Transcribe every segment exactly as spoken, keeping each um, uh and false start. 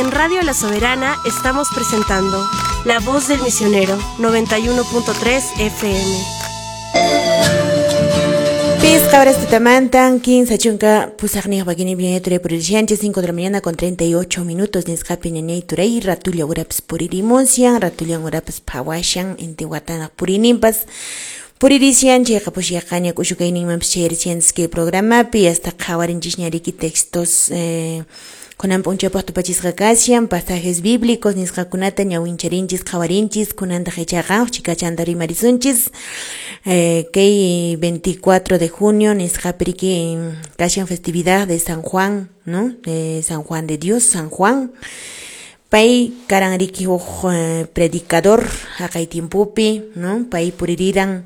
En Radio La Soberana estamos presentando La Voz del Misionero, noventa y uno punto tres F M. Pisqa horas tutamantan, quince chunka pusaqniyuq pakini ñañay puririshanchis, cinco de la mañana con treinta y ocho minutos nisqapi ñañay turay, ratulla urapas puririmushan, ratullan urapas phawashan, inti watanaq purininpas puririshan, chayqa pushiyaqaña k'ushukayninmanpas chayrishanchis kay programapi, hasta qhawarinchis ñariki textos eh, kunan p'unchawpaq tupachisqa kashan, pasajes bíblicos nisqakunata ñawincharinchis qhawarinchis, kunantaq ichaqa chikachanta rimarisunchis eh, kay veinticuatro de junio nisqapi riki kashan festividad de San Juan, ¿no? De San Juan de Dios, San Juan. Pay karan riki huk eh, predicador haqay tiempopi, ¿no? Pay puririran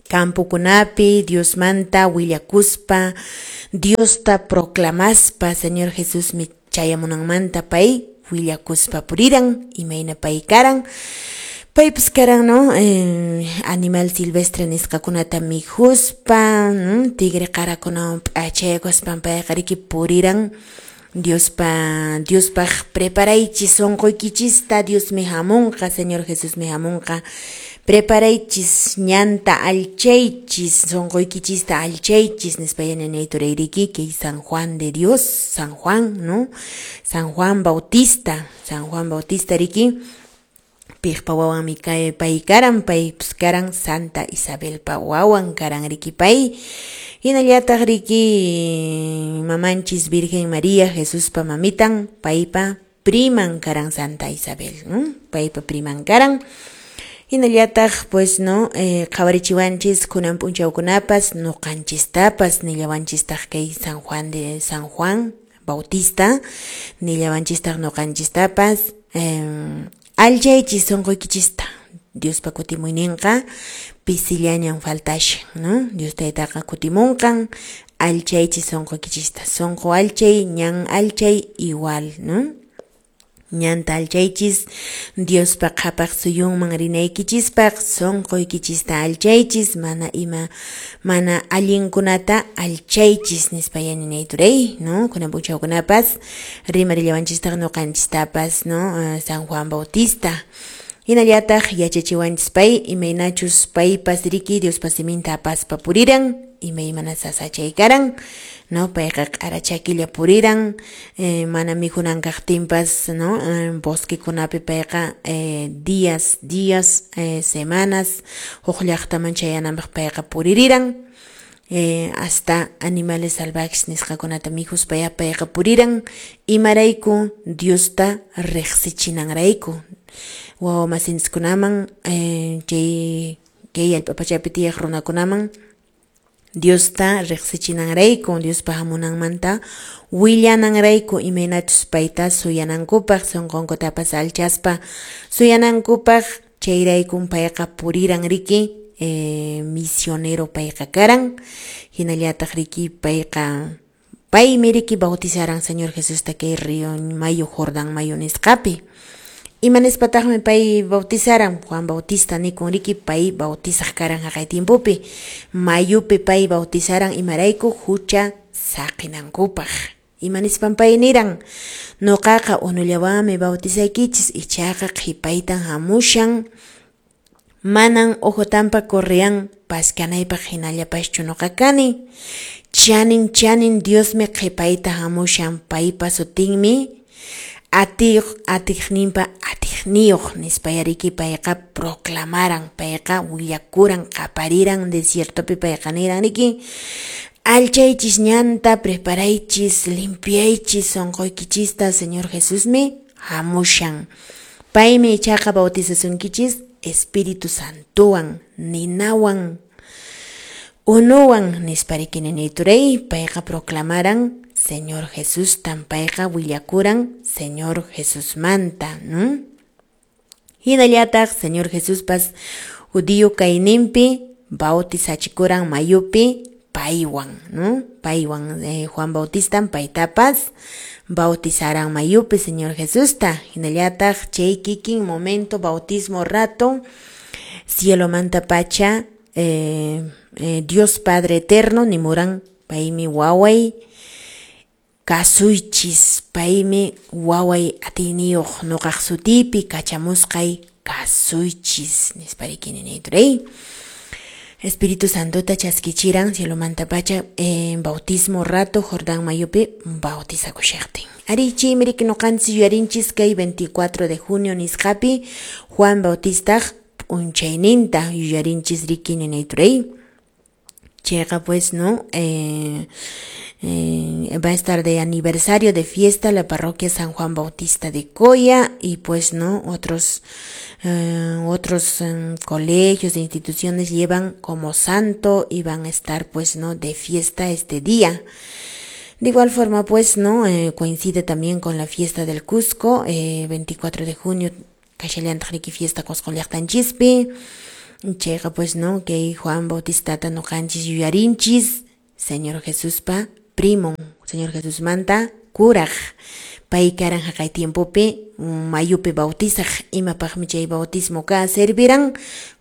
campokunapi, Diosmanta willakuspa, Diosta proclamaspa, Señor Jesús mi chayamunanmanta pay willakuspa puriran, imayna pay karan. Paypas karan, ¿no? Eh, animal silvestre nisqakunata mikhuspa, ¿no? Tigre qarakunawan p'achaykuspan payqa riki puriran. Diospa, Diospaq preparaychis sunquykichista, Diosmi hamunqa, Señor Jesusmi hamunqa. Preparaychis ñanta alchaychis, sunquykichista alchaychis, nispa ñañay turayriki, kay San Juan de Dios, San Juan, ¿no? San Juan Bautista, San Juan Bautista riki, piqpa wawanmi kay pay karan, pay pues karan Santa Isabelpa wawan karan riki pay. Hinallataq riki mamanchis Virgen María, Jesuspa mamitan, paypa priman karan Santa Isabel, ¿no? Paypa priman karan. Hinallataq pues no, eh, qhawarichiwanchis kunan p'unchawkunapas nuqanchistapas nillawanchistaq kay San Juan de San Juan Bautista, nillawanchistaq nuqanchistapas eh, alchaychis sunquykichista, Diospa kutimuyninqa pisillañan faltashan, ¿no? Dios taytaqa kutimunqan, alchaychis sunquykichista, sunqu alchay, ñan alchay igual, ¿no? Ñanta alchaychis, Diospa qhapaq suyunman rinaykichispaq, sunquykichista alchaychis, mana ima, mana allinkunata alchaychis, nispa ñañay turay, ¿no? Kunan p'unchawkunapas rimarillawanchistaq nuqanchistapas, ¿no? San Juan Bautista. Hinallataq yachachiwanchis pay, imaynachus paypas riki Diospa siminta apaspa puriran, imaymana sasachay karan, ¿no? Payqa q'ara chakilla puriran, eh, mana mikhunan kaqtinpas, ¿no? Eh, bosquekunapi payqa eh, días, días, eh, semanas, huk llaqtaman chayananpaq payqa puririran, eh, hasta animales salvajes nisqakunata mikhuspa payqa puriran, imarayku Diosta riqsichinanrayku. Wawa masinchiskunaman, eh, chay kay allpa pachapi tiyaq runakunaman Diosta riqsichinanrayku, Diospa hamunanmanta willananrayku, imaynachus payta suyanankupaq, sunqunkutapas alchaspa suyanankupaq, chayraykun payqa puriran riki, eh, misionero payqa karan, hinallataq riki payqa paymi riki bautizaran Señor Jesusta kay río Mayo Jordán Mayo nisqapi. Imanispataqmi pay bautizaran, Juan Bautista nikun riki pay bautizaq karan haqay tiempopi, mayupi pay bautizaran imarayku hucha saqinankupaq. Imanispan pay niran, nuqaqa unullawanmi bautizaykichis, ichaqa qhipaytan hamushan, manan ojotampa correan paskanaypaq hinallapaschu nuqa kani, chanin chanin Diosmi qhipayta hamushan, paypa sutinmi atiq atiqninpa atiqniyuq nispa yariki payqa proclamaran, payqa willakuran, qapariran desiertopi payqa niran riki, alchaychis ñanta, preparaychis, limpiaychis sunquykichista, Señor Jesusmi hamushan. Paymi ichaqa bautizasunkichis Espíritu Santowan, ninawan, unuwan nispa riki ninayturay, payqa proclamaran Señor Jesús tan payqa willakuran Señor Jesusmanta, ¿no? Hinallataq Señor Jesuspas judío kayninpi bautizachikuran mayupi paywan, ¿no? Paywan eh, Juan Bautista paytapas bautizaran mayupi Señor Jesusta. Hinallataq chay kikin momento bautismo rato cielo manta pacha eh, eh, Dios Padre Eterno nimuran paymi waway Kasuychis, paymi waway atiyniyuq nuqaq sutipi kachamusqay kasuychis nispa riki ninayturay. Espíritu Santota chaskichiran cielomanta pacha en bautismo rato Jordán mayupi bautizakushaqtin. Ari chaymi riki nuqanchis yuyarinchis kay veinticuatro de junio nisqapi Juan Bautistaq p'unchayninta yuyarinchis riki ninayturay. Chayqa pues no eh, eh, va a estar de aniversario de fiesta la parroquia San Juan Bautista de Coya y pues no otros eh, otros eh, colegios e instituciones llevan como santo y van a estar pues no de fiesta este día. De igual forma pues no eh, coincide también con la fiesta del Cusco, eh, veinticuatro de junio kashallantaq riki fiesta Cusco llaqtanchispi. Chayqa pues no kay Juan Bautistata nuqanchis yuyarinchis Señor Jesuspa primon, Señor Jesusmanta kuraq. Pay karan haqay tiempopi mayupi bautizaq, imapaqmi chay bautismo ka serviran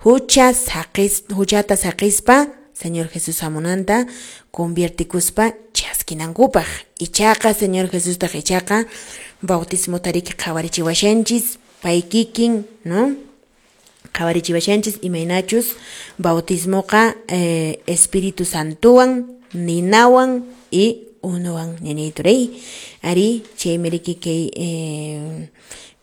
hucha saqis huchata saqispa Señor Jesús hamunanta conviertikuspa chaskinankupaq. Ichaqa Señor Jesustaq ichaqa bautismo tariki qhawarichiwashanchis pay kikin, no? Qhawarichiwashanchis imaynachus bautismoqa eh, Espíritu Santowan, ninawan y unuwan ninayturay. Ari chaymi riki kay eh,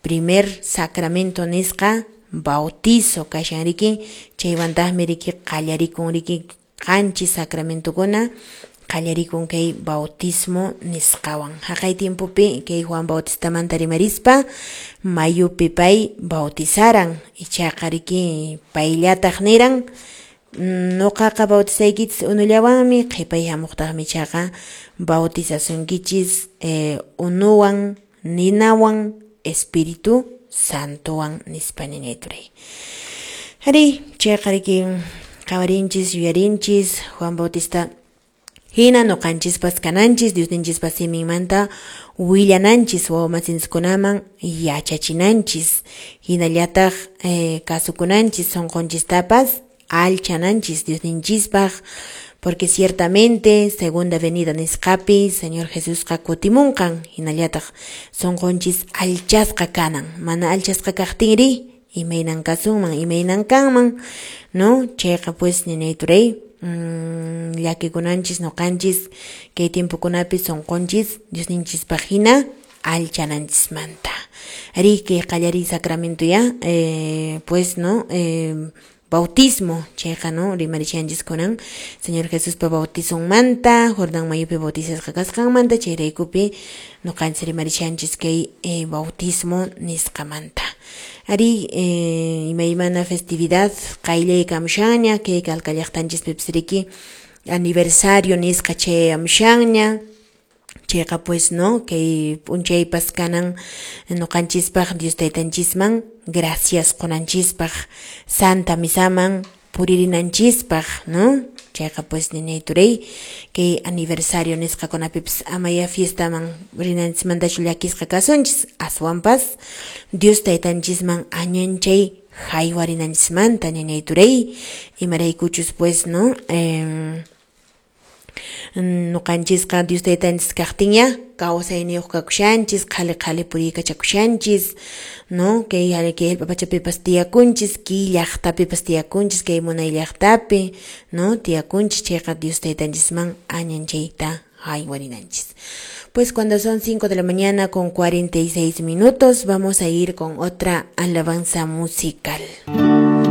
primer sacramento nisqa bautizo kashan riki, chaywantaqmi riki qallarikun riki qanchis sacramentokuna qallarikun kay bautismo nisqawan. Haqay tiempopi kay Juan Bautistamanta rimarispa mayupi pay bautizaran, ichaqa riki payllataq niran nuqaqa bautizaykichis unullawanmi, qhipay hamuqtaqmi ichaqa bautizasunkichis eh, unuwan, ninawan, Espíritu Santowan nispa ninayturay. Ari chayqa riki qhawarinchis yuyarinchis Juan Bautista hina nuqanchispas kananchis, Diosninchispas siminmanta willananchis, wawamasinchikunaman yachachinanchis, hinallataq eh, kasukunanchis, sunqunchistapas alchananchis Diosninchispaq, porque ciertamente segunda venida nisqapi Señor Jesusqa kutimunqan, hinallataq sunqunchis alchasqa kanan, mana alchasqa kaqtinri imaynan kasunman, imaynan kanman, no? Chayqa pues ninayturay. Mm, llakikunanchis nuqanchis kay tiempokunapi sunqunchis Diosninchispaq hina alchananchismanta. Ari kay qallariy sacramento ya eh, pues no eh, bautismo chayqa no rimarishanchis kunan Señor Jesuspa bautizonmanta, Jordán mayupi bautizasqa kasqanmanta, chayraykupi nuqanchis rimarishanchis kay eh, bautismo nisqamanta. Ari eh, imaymana festividad qayllaykamushanña kay Calca llaqtanchispipis riki aniversario nisqa chayamushanña. Chayqa pues no kay p'unchaypas kanan nuqanchispaq Dios taytanchisman gracias qunanchispaq, Santa Misaman puririnanchispaq, no? Chayqa pues ninayturay kay aniversario nisqakunapipis amaya fiestaman rinanchismantachu llakisqa kasunchis, aswanpas Dios taytanchisman añanchay haywarinanchismanta ninayturay, imaraykuchus pues no eh, nuqanchisqa Dios taytanchis kaqtinña kawsayniyuq kakushanchis, qhali qhali puriykachakushanchis, no? Kay kay hallp'a pachapipas tiyakunchis, kay llaqtapipas tiyakunchis, kay munay llaqtapi, no? Tiyakunchis, chayqa Dios taytanchisman añanchayta haywarinanchis. Pues cuando son cinco de la mañana con cuarenta y seis minutos, vamos a ir con otra alabanza musical.